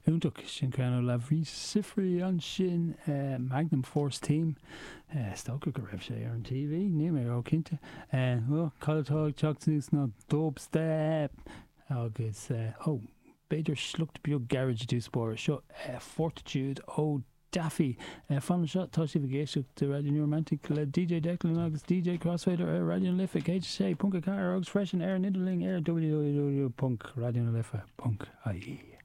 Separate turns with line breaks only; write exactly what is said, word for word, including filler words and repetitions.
Iontach sin ceann ó Lavery Siffre ansin uh, Magnum Force Theme uh, is dócha go raibh sé ar an TV ní mé ó cinnte uh, cad atá ag teacht suas ná dubstep agus uh, ó b'fhéidir sliocht beag garage dúspóir seo uh, Fortitude ó Daffy uh, fan seo tá sibh ag éisteacht de Radio New Romantic le DJ Declan agus DJ Crossfader ar Raidió na Life céad sé ponc a ceathair agus freisin ar an idirlíon ar www.radionalife.ie.